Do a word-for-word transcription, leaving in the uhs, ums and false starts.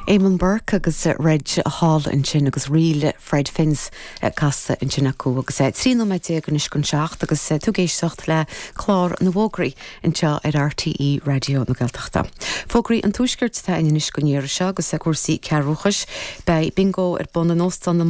Eamon Burke agus Reg Hall ansin agus ríl Fred Finz casta ansin acu agus trí nóiméad déag anois chun seacht agus tú ag éisteacht le clár na bhfógraí anseo ar RTÉ Raidió na Gaeltachta. Fógraí an tuaiscirt tá anois go ndéire seo agus cúrsaí cearúchais, Beidh bingo ar bun in Óstán na